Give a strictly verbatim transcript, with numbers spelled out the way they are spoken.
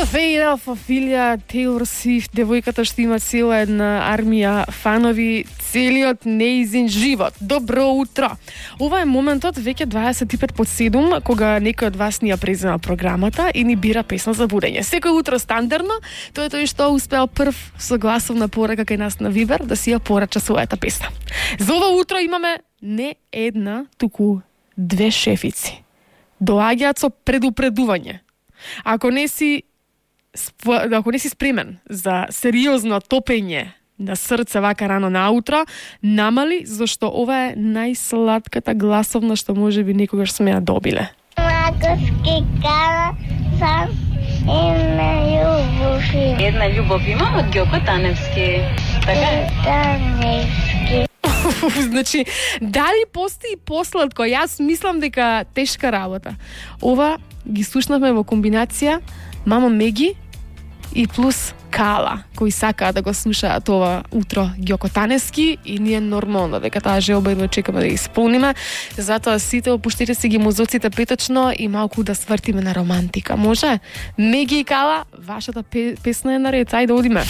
The Fate of Ophelia, Taylor Swift, девојката што има цела една армија фанови целиот неизин живот. Добро утро! Ова е моментот веќе дваесет и пет по седум, кога некој од вас ни ја презема програмата и ни бира песна за будење. Секој утро стандардно, тој е тој што успеал прв со гласовна порака кај нас на Вибер да си ја порача својата песна. За ова утро имаме не една, туку две шефици. Доаѓаат со предупредување. Ако не си ако не си спремен за сериозно топење на срце вака рано наутро, намали, зашто ова е најсладката гласовна што може би никогаш сме ја добиле. Маковски кара сам една љубов. Една љубов имам од Ѓоко Таневски. Така е? Таневски. Значи, дали постои посладко? Јас мислам дека тешка работа. Ова ги слушнавме во комбинација Мама Меги и плюс Кала, кои сакаат да го слушаат ова утро Ѓоко Таневски, и ние нормално дека таа желба едно чекаме да ја исполниме. Затоа сите опуштите си ги мозоците петочно и малку да свртиме на романтика. Може? Меги и Кала, вашата песна е наред. Ајде, одиме.